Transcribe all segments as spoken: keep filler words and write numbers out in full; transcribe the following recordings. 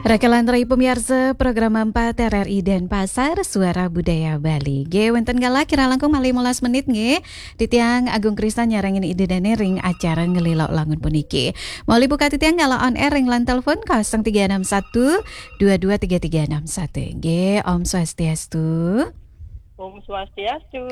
Raka lan rai pamiarsa program empat R R I Denpasar, Suara Budaya Bali. Nggih, wénten galah kirang langkung malih limolas menit nggih. Titiang Agung Krisna nyarengin Ida Dané ring acara Ngelila Langun puniki. Malih buka titiang galah on air ring line telepon kosong tiga enam satu dua dua tiga tiga enam satu. Nggih, Om Swastiastu. Om Swastiastu,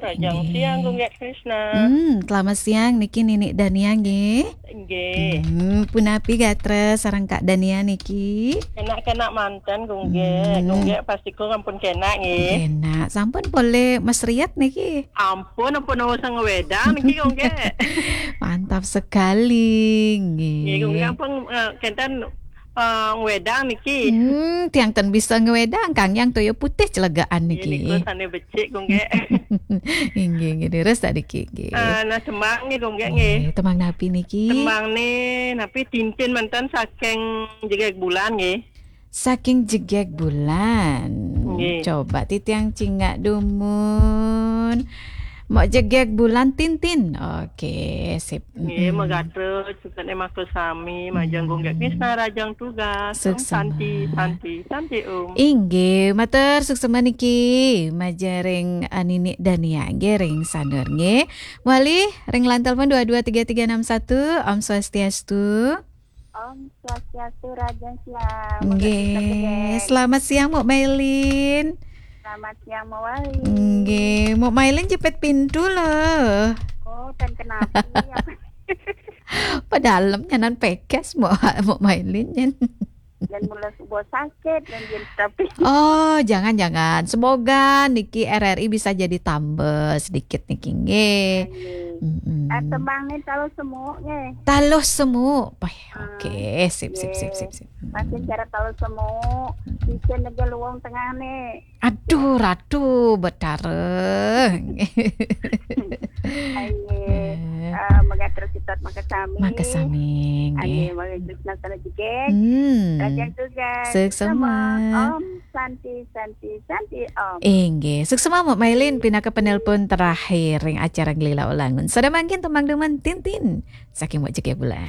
rahajeng siang, Gung Gék Krisna. Hmm, selamat siang niki Ninik Dania nggih. Nggih. Hmm, punapi gatra sareng Kak Dania niki? Kénak-kénak manten, Gung Gék. Hmm. Gung Gék pasti Gung ampun kénak nggih. Kénak, sampun polih mesriat niki. Ampun, ampun wédang niki, Gung Gék. Mantap sekali nggih. Nggih, Gung Gék ampun, eh, kénten eh, ngwédang niki. Hmm, tiang ten bisa ngwédang, Kang, yang toya putih celegaan niki. Nggih, niku sané becik, Gung Gék. Inggih, inggih, leres tak niki, nggih. Eh, nah, tembang nggih, Gung Gék nggih. Nggih, tembang napi niki? Tembang nih, napi Tintin manten saking Jegég Bulan nggih. Saking Jegég Bulan. Nggih. Coba titiang cingak dumun. Mok Jegég Bulan Tintin. Oke, sip. Nggih, mm-mm. Magatra suksma makasami, majeng Gung Gék Krisna rahajeng tugas. Om Santi, suksma. Santi, Santi Om. Inggih, matur suksma niki majeng ring, eh, Ninik Dania nggih ring Sanur nggih. Malih ring line telepon dua dua tiga tiga enam satu. Om Swastiastu. Om Swastiastu, rahajeng siang. Nggih, selamat siang, Mok Mailin. Selamat siang, Mawali. Nggih, Mok Mailin jepit pintu loh. Oh, ten kenapa? Padalem nyanan pegas, Mok, Mok Mailin nyen. Dan mula subuh sakit dan dia tapi. Oh, jangan-jangan. Semoga niki R R I bisa jadi tambah sedikit niki nggih. Nggih. Mm-mm. Eh, tembang nih taluh semuk nggih. Taluh semuk. Pah, ah, oke, sip, sip, sip, sip, sip. Pasti cara taluh semuk. Mm-mm. Bisa negé luwung tengah nih. Aduh, Ratu Betara. Ayo, eh, magatra sitat makasami. Makasami, nggih. Ayo, magatra sitat sana juga. Hmm. Rahajeng tugas. Suksma. Om Santi, Santi, Santi Om. Inggih, suksma Mok Mailin pinaka penelpon terakhir ring acara Ngelila Langun. Sada mangkin tembang dumun Tintin saking Mok Jegég Bulan.